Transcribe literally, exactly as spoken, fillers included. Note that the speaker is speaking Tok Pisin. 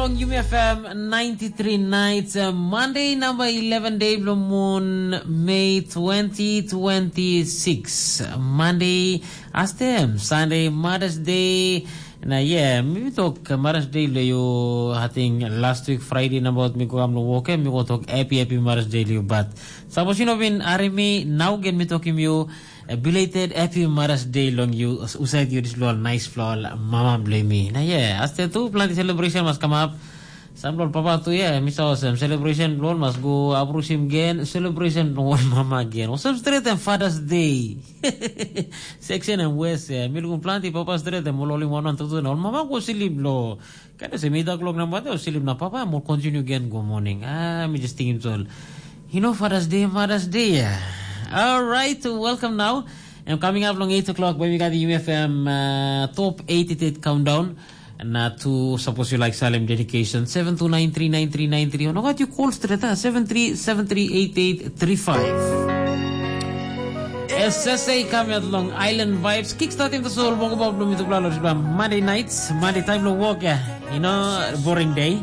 Long Yumi F M ninety-three nights, uh, Monday number eleven day bilong moon, May twenty twenty-six. Monday, astem, Sunday, Mother's Day. Na yeah, mi tok Mother's Day lo you, I think last week Friday number mi go am lo work, mi go tok happy, happy Mother's Day lo you, but suppose you know been army, now again mi talking you, a belated happy Mother's Day long you, usai you this lo nice floor, mama blame me. Na yeah, astem tu planti celebration mas come up. Sam lo papa tu ya, misa osem celebration lo mas go abrusim gen, celebration lo mama gen. Osem straight and Father's Day. Section and West ya, mi lukum planti papa straight and mol olim one one two two na ol mama go silip lo. Kada se mi dak lok na mate o silip na papa mo continue gen go morning. Ah, mi just thinking tol. You know Father's Day, Mother's Day ya. All right, welcome now. And coming up long eight o'clock, baby got the U F M uh, top eighty-eight countdown. Na tu, suppose you like Salem dedication, seven two nine three nine three nine three. Ono gat you call straight, ah, seven three seven three eight eight three five. S S A kame at long Island Vibes, kickstarting the soul, bongo bob lumi tukla lo Monday nights, Monday time lo work ya. You know, boring day.